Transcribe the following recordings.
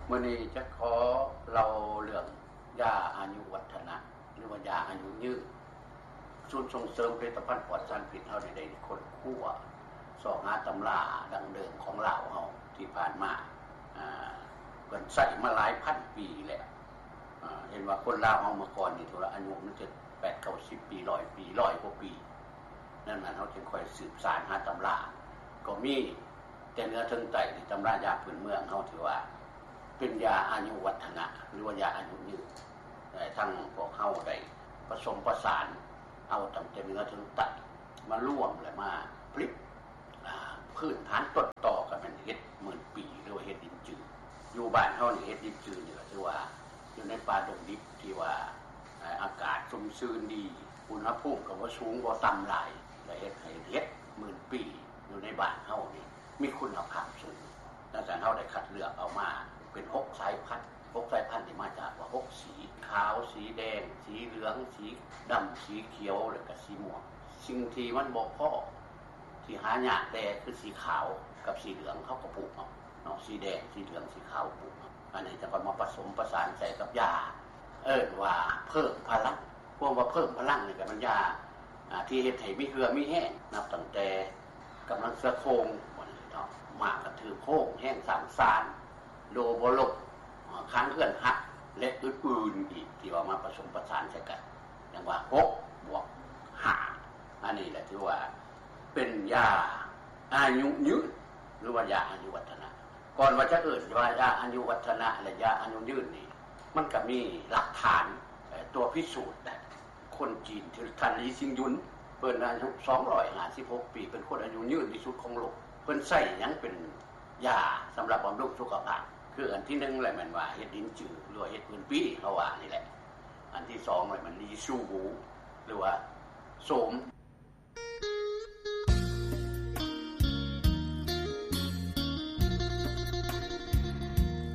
ມື້ນີ້ຈະຂໍເລົ່າເລື່ອງຢາອາຍຸວັດທະນະ ຫຼືວ່າຢາອາຍຸຍືນ. ສູນສົ່ງເສີມຜະລິດຕະພັນປອດສານພິດເຮົານີ້ໄດ້ຄົ້ນຄວ້າຊອກຫາຕຳລາດັ້ງເດີມຂອງລາວເຮົາທີ່ຜ່ານມາ ອາ ເພິ່ນໃຊ້ມາຫຼາຍພັນປີແລ້ວ. ອາ ເຫັນວ່າຄົນລາວເຮົາເມື່ອກ່ອນນີ້ ຖືວ່າອາຍຸມັນຈະແປດເກົ້າສິບປີ ຮ້ອຍປີ ຮ້ອຍກວ່າປີ. ດັ່ງນັ້ນເຮົາຈຶ່ງຄ່ອຍສືບສານຫາຕຳລາ ກໍມີແຕ່ເໜືອເຖິງໃຕ້ ທີ່ຕຳລາຢາພື້ນເມືອງເຮົາ ທີ່ວ່າເປັນຢາອາຍຸວັດທະນະ ຫຼືວ່າຢາອາຍຸຍືນ. ແຕ່ທັງພວກເຮົາໄດ້ປະສົມປະສານເອົາຕັ້ງແຕ່ເໜືອເຖິງໃຕ້ມາລວມ ແລະ ມາຜະລິດ ອາ ພື້ນຖານຕົ້ນຕໍກໍແມ່ນເຫັດໝື່ນປີ ຫຼືວ່າເຫັດລິນຈື. ຢູ່ບ້ານເຮົານີ້ ເຫັດລິນຈືນີ້ກໍຖືວ່າຢູ່ໃນປ່າດົງດິບທີ່ວ່າ ອາ ອາກາດຊຸ່ມຊື່ນດີ ອຸນຫະພູມກໍບໍ່ສູງບໍ່ຕ່ຳຫຼາຍ ແລະ ເຮັດໃຫ້ເຫັດໝື່ນປີຢູ່ໃນບ້ານເຮົານີ້ມີຄຸນນະພາບສູງ. ດັ່ງນັ້ນເຮົາໄດ້ຄັດເລືອກເອົາມາເປັນຫົກສາຍພັນ ຫົກສາຍພັນນີ້ມາຈາກວ່າຫົກສີ ຂາວ ສີແດງ ສີເຫຼືອງ ສີດຳ ສີຂຽວ ແລະກະສີມ່ວງ. ສິ່ງທີ່ມັນບໍ່ພໍ ທີ່ຫາຍາກແດ່ຄືສີຂາວກັບສີເຫຼືອງ ເຮົາກໍປູກເອົາເນາະ ສີແດງ ສີເຫຼືອງ ສີຂາວ ປູກເອົາ. ອັນນີ້ຈະຄ່ອຍມາປະສົມປະສານໃສ່ກັບຢາ ເອີ້ນວ່າເພີ່ມພະລັງ. ຄວາມວ່າເພີ່ມພະລັງນີ້ກໍແມ່ນຢາ ອາ ທີ່ເຮັດໃຫ້ມີເຫື່ອມີແຮງ ນັບຕັ້ງແຕ່ກຳລັງເສືອໂຄ່ງ ວ່າຊັ້ນເຖາະ ມ້າກະຖືໂຄ້ງ ແຮງສ້າງຊານ ໂດບໍ່ລົ້ມ ອາ ຄານເຮືອນຫັກ ແລະ ອື່ນໆອີກ ທີ່ວ່າມາປະສົມປະສານໃສ່ກັນ ຈັ່ງວ່າຫົກບວກຫ້າ. ອັນນີ້ແຫຼະຖືວ່າເປັນຢາອາຍຸຍືນ ຫຼືວ່າຢາອາຍຸວັດທະນະ. ກ່ອນວ່າຈະເອີ້ນວ່າຢາອາຍຸວັດທະນະ ແລະ ຢາອາຍຸຍືນນີ້ ມັນກໍມີຫຼັກຖານ ເອີ ຕົວພິສູດໄດ້. ຄົນຈີນທີ່ທ່ານ ລີຊິງຍຸນ ເພິ່ນອາຍຸສອງຮ້ອຍຫ້າສິບຫົກປີ ເປັນຄົນອາຍຸຍືນທີ່ສຸດຂອງໂລກ. ເພິ່ນໃຊ້ຫຍັງເປັນຢາສຳລັບບຳລຸງສຸຂະພາບ? ຄືອັນທີໜຶ່ງແຫຼະແມ່ນວ່າເຫັດລິນຈື ຫຼືວ່າເຫັດໝື່ນປີ ເຮົາວ່ານີ້ແຫຼະ. ອັນທີສອງແຫຼະແມ່ນລີຊູຫວູ ຫຼືວ່າໂສມ.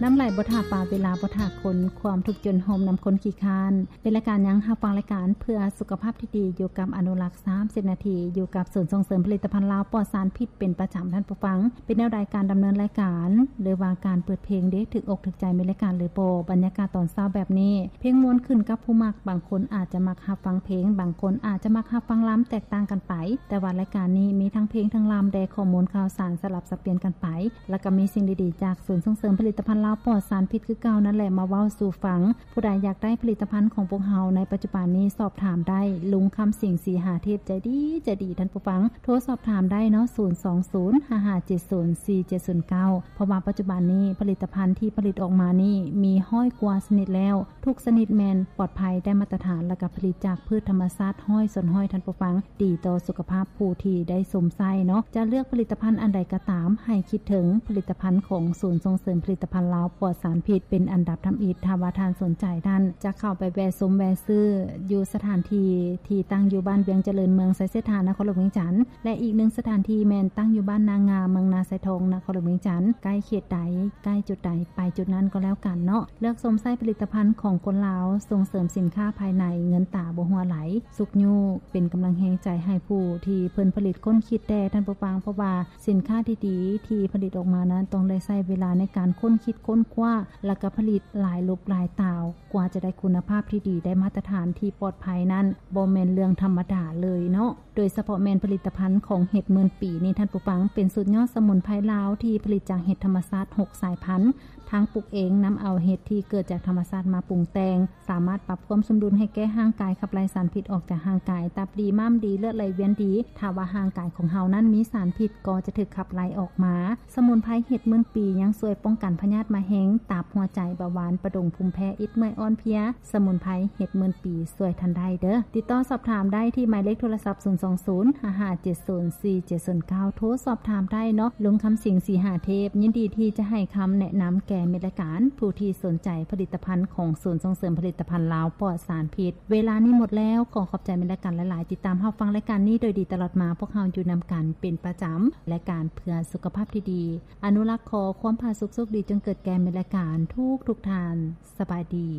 ນ້ຳໄຫຼບໍ່ຖ້າປາ ເວລາບໍ່ຖ້າຄົນ ຄວາມທຸກຈົນໂຮມນຳຄົນຂີ້ຄ້ານ. ເປັນລາຍການຫຍັງ? ຮັບຟັງລາຍການເພື່ອສຸຂະພາບທີ່ດີ ຢູ່ກັບອະນຸລັກ ສາມສິບນາທີ ຢູ່ກັບສູນສົ່ງເສີມຜະລິດຕະພັນລາວປອດສານພິດເປັນປະຈຳ, ທ່ານຜູ້ຟັງ. ເປັນແນວໃດການດຳເນີນລາຍການ ຫຼືວ່າການເປີດເພງເດ ຖືກອົກຖືກໃຈແມ່ນລາຍການຫຼືບໍ່? ບັນຍາກາດຕອນເຊົ້າແບບນີ້ ເພງມ່ວນຂຶ້ນກັບຜູ້ມັກ, ບາງຄົນອາດຈະມັກຮັບຟັງເພງ, ບາງຄົນອາດຈະມັກຮັບຟັງລຳ ແຕກຕ່າງກັນໄປ. ແຕ່ວ່າລາຍການນີ້ມີທັງເພງທັງລຳແດ່, ຂໍ້ມູນຂ່າວສານສະຫຼັບສັບປ່ຽນກັນໄປ, ແລ້ວກໍມີສິ່ງດີໆຈາກສູນສົ່ງເສີມຜະລິດຕະພັນລາວປອດສານພິດຄືເກົ່ານັ້ນແຫຼະ ມາເວົ້າສູ່ຟັງ. ຜູ້ໃດຢາກໄດ້ຜະລິດຕະພັນຂອງພວກເຮົາໃນປັດຈຸບັນນີ້ ສອບຖາມໄດ້ ລຸງຄຳສິງ ສີຫາເທບ ໃຈດີ ໃຈດີ ທ່ານຜູ້ຟັງ. ໂທສອບຖາມໄດ້ເນາະ ສູນສອງສູນ ຫ້າຫ້າເຈັດສູນ ສີ່ເຈັດສູນເກົ້າ. ເພາະວ່າປັດຈຸບັນນີ້ຜະລິດຕະພັນທີ່ຜະລິດອອກມານີ້ມີຮ້ອຍກວ່າຊະນິດແລ້ວ. ທຸກຊະນິດແມ່ນປອດໄພ, ໄດ້ມາດຕະຖານ ແລ້ວກໍຜະລິດຈາກພືດທຳມະຊາດຮ້ອຍສ່ວນຮ້ອຍ ທ່ານຜູ້ຟັງ, ດີຕໍ່ສຸຂະພາບຜູ້ທີ່ໄດ້ຊົມໃຊ້ເນາະ. ຈະເລືອກຜະລິດຕະພັນອັນໃດກໍຕາມ, ໃຫ້ຄິດເຖິງຜະລິດຕະພັນຂອງສູນສົ່ງເສີມຜະລິດຕະພັນລາວປອດສານພິດເປັນອັນດັບທຳອິດ. ຖ້າວ່າທ່ານສົນໃຈ, ທ່ານຈະເຂົ້າໄປແວະຊົມແວະຊື້ຢູ່ສະຖານທີ່ທີ່ຕັ້ງຢູ່ບ້ານວຽງຈະເລີນ, ເມືອງໄຊເສດຖາ, ນະຄອນຫຼວງວຽງຈັນ. ແລະ ອີກໜຶ່ງສະຖານທີ່ແມ່ນຕັ້ງຢູ່ບ້ານນາງາມ, ເມືອງນາຊາຍທອງ, ນະຄອນຫຼວງວຽງຈັນ. ໃກ້ເຂດໃດ, ໃກ້ຈຸດໃດ, ໄປຈຸດນັ້ນກໍແລ້ວກັນເນາະ. ເລືອກຊົມໃຊ້ຜະລິດຕະພັນຂອງຄົນລາວ, ສົ່ງເສີມສິນຄ້າພາຍໃນ, ເງິນຕາບໍ່ຮົ່ວໄຫຼ, ຊຸກຍູ້ເປັນກຳລັງແຮງໃຈໃຫ້ຜູ້ທີ່ເພິ່ນຜະລິດຄົ້ນຄິດແດ່, ທ່ານຜູ້ຟັງ. ເພາະວ່າສິນຄ້າທີ່ດີທີ່ຜະລິດອອກມານັ້ນ ຕ້ອງໄດ້ໃຊ້ເວລາໃນການຄົ້ນຄິດຄົ້ນຄວ້າ, ແລ້ວກໍຜະລິດຫຼາຍລົບຫຼາຍຕາວ. ກວ່າຈະໄດ້ຄຸນນະພາບທີ່ດີ, ໄດ້ມາດຕະຖານທີ່ປອດໄພນັ້ນ ບໍ່ແມ່ນເລື່ອງທຳມະດາເລີຍເນາະ. ໂດຍສະເພາະແມ່ນຜະລິດຕະພັນຂອງເຫັດໝື່ນປີນີ້, ທ່ານຜູ້ຟັງ, ເປັນສູດຍອດສະໝຸນໄພລາວທີ່ຜະລິດຈາກເຫັດທຳມະຊາດຫົກສາຍພັນ, ທັງປຸກເອງ, ນຳເອົາເຫັດທີ່ເກີດຈາກທຳມະຊາດມາປຸງແຕ່ງ, ສາມາດປັບຄວາມສົມດຸນໃຫ້ແກ່ຮ່າງກາຍ, ຂັບໄລ່ສານພິດອອກຈາກຮ່າງກາຍ, ຕັບດີ, ມ້າມດີ, ເລືອດໄຫຼວຽນດີ. ຖ້າວ່າຮ່າງກາຍຂອງເຮົານັ້ນມີສານພິດ, ກໍຈະຖືກຂັບໄລ່ອອກມາ. ສະໝຸນໄພເຫັດໝື່ນປີຍັງຊ່ວຍປ້ອງກັນພະຍາດມະເຮັງ, ຕັບ, ຫົວໃຈ, ເບົາຫວານ, ປະດົງ, ພູມແພ້, ອິດ, ເມື່ອຍ, ອ່ອນເພຍ. ສະໝຸນໄພເຫັດໝື່ນປີຊ່ວຍທ່ານໄດ້ເດີ້. ຕິດຕໍ່ສອບຖາມໄດ້ທີ່ໝາຍເລກໂທລະສັບ ສູນສອງສູນ ຫ້າຫ້າເຈັດສູນ ສີ່ເຈັດສູນເກົ້າ. ໂທສອບຖາມໄດ້ເນາະ. ລຸງຄຳສິງ ສີຫາເທບ ຍິນດີທີ່ຈະໃຫ້ຄຳແນະນຳແກ່ມິດລາຍການ ຜູ້ທີ່ສົນໃຈຜະລິດຕະພັນຂອງສູນສົ່ງເສີມຜະລິດຕະພັນລາວປອດສານພິດ. ເວລານີ້ໝົດແລ້ວ. ຂໍຂອບໃຈມິດລາຍການຫຼາຍໆ. ຕິດຕາມຮັບຟັງລາຍການນີ້ໂດຍດີຕະຫຼອດມາ. ພວກເຮົາຢູ່ນຳກັນເປັນປະຈຳ. ລາຍການເພື່ອສຸຂະພາບທີ່ດີ. ອະນຸລັກຂໍຄວາມຜາສຸກໂຊກດີຈົ່ງເກີດແກ່ມິດລາຍການທຸກໆທ່ານ. ສະບາຍດີ.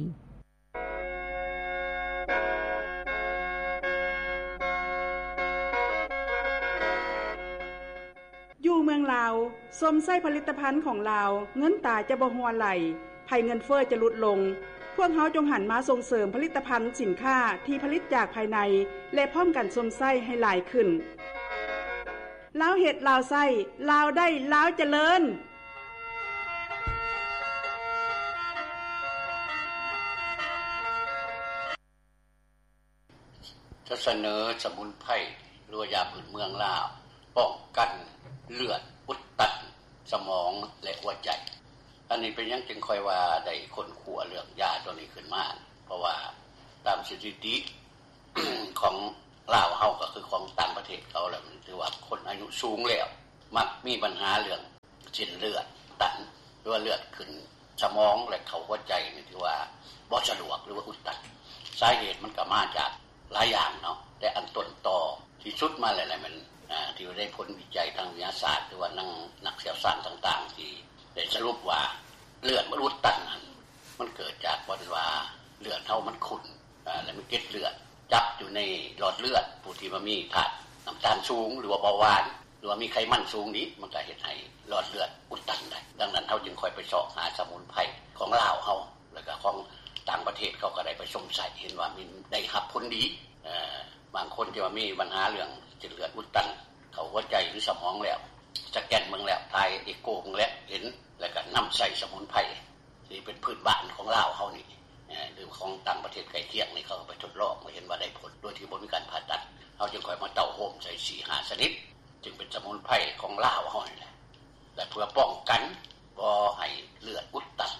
ຢູ່ເມືອງລາວ, ຊົມໃຊ້ຜະລິດຕະພັນຂອງລາວ, ເງິນຕາຈະບໍ່ຮົ່ວໄຫຼ. ໄພ ໄພເງິນເຟີ້ຈະຫຼຸດລົງ. ພວກເຮົາຈົ່ງຫັນມາສົ່ງເສີມຜະລິດຕະພັນສິນຄ້າທີ່ຜະລິດຈາກພາຍໃນ ແລະ ພ້ອມກັນຊົມໃຊ້ໃຫ້ຫຼາຍຂຶ້ນ. ລາວເຮັດ ລາວໃຊ້, ລາວໄດ້ ລາວຈະເລີນ. ຈະສະເໜີສະໝຸນໄພ ຫຼືວ່າຢາພື້ນເມືອງລາວ ປ້ອງກັນເລືອດອຸດຕັນສະໝອງ ແລະ ຫົວໃຈ. ອັນນີ້ເປັນຫຍັງຈຶ່ງຄ່ອຍວ່າໄດ້ຄົ້ນຄວ້າເລື່ອງຢາຕົວນີ້ຂຶ້ນມາ? ເພາະວ່າຕາມສະຖິຕິຂອງລາວເຮົາ ກໍຄືຂອງຕ່າງປະເທດເຂົາແລ້ວ ຖືວ່າຄົນອາຍຸສູງແລ້ວ ມັກມີບັນຫາເລື່ອງ ເສັ້ນເລືອດຕັນ ຫຼືວ່າເລືອດຂຶ້ນສະໝອງ ແລະ ເຂົ້າຫົວໃຈນີ້ ຖືວ່າບໍ່ສະດວກ ຫຼືວ່າອຸດຕັນ. ສາເຫດມັນກໍມາຈາກຫຼາຍຢ່າງເນາະ, ແຕ່ອັນຕົ້ນຕໍທີ່ສຸດມາແລ້ວແຫຼະ ແມ່ນ ອາ ທີ່ໄດ້ຜົນວິໄຈທາງວິທະຍາສາດ ຫຼືວ່ານັກ ນັກຊ່ຽວຊານຕ່າງໆ ທີ່ໄດ້ສະຫຼຸບວ່າເລືອດມັນອຸດຕັນນັ້ນ ມັນເກີດຈາກບ່ອນວ່າເລືອດເຮົາມັນຂຸ້ນ ອາ ແລະ ມີເກັດເລືອດຈັບຢູ່ໃນຫຼອດເລືອດ. ຜູ້ທີ່ວ່າມີທາດນ້ຳຕານສູງ ຫຼືວ່າເບົາຫວານ ຫຼືວ່າມີໄຂມັນສູງນີ້ ມັນກໍເຮັດໃຫ້ຫຼອດເລືອດອຸດຕັນໄດ້. ດັ່ງນັ້ນ ເຮົາຈຶ່ງຄ່ອຍໄປຊອກຫາສະໝຸນໄພຂອງລາວເຮົາ ແລ້ວກໍຂອງຕ່າງປະເທດ ເຂົາກໍໄດ້ໄປຊົມໃຊ້ ເຫັນວ່າມີ ໄດ້ຮັບຜົນດີ. ເອີ ບາງຄົນທີ່ວ່າມີບັນຫາເລື່ອງເສັ້ນເລືອດອຸດຕັນເຂົ້າຫົວໃຈ ຫຼື ສະໝອງແລ້ວ ສະແກນເບິ່ງແລ້ວ ຖ່າຍເອໂກເບິ່ງແລ້ວ ເຫັນ ແລ້ວກໍນຳໃຊ້ສະໝຸນໄພ ທີ່ເປັນພື້ນບ້ານຂອງລາວເຮົານີ້ ເອີ ຫຼືຂອງຕ່າງປະເທດໃກ້ຄຽງນີ້ ເຂົາກໍໄປທົດລອງ ກໍເຫັນວ່າໄດ້ຜົນ ໂດຍທີ່ບໍ່ມີການຜ່າຕັດ. ເຮົາຈຶ່ງຄ່ອຍມາເຕົ້າໂຮມໃສ່ສີ່ຫ້າຊະນິດ ຈຶ່ງເປັນສະໝຸນໄພຂອງລາວເຮົານີ້ແຫຼະ ແລະ ເພື່ອປ້ອງກັນບໍ່ໃຫ້ເລືອດອຸດຕັນ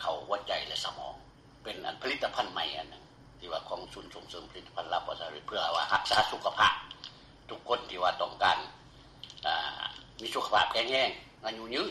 ເຂົ້າຫົວໃຈ ແລະ ສະໝອງ. ເປັນອັນຜະລິດຕະພັນໃໝ່ອັນໜຶ່ງ ທີ່ວ່າຂອງສູນສົ່ງເສີມຜະລິດຕະພັນລາວປະຊາລັດ ເພື່ອວ່າຮັກສາສຸຂະພາບ ທຸກຄົນທີ່ວ່າຕ້ອງການ ອາ ມີສຸຂະພາບແຂງແຮງ ອາຍຸຍືນ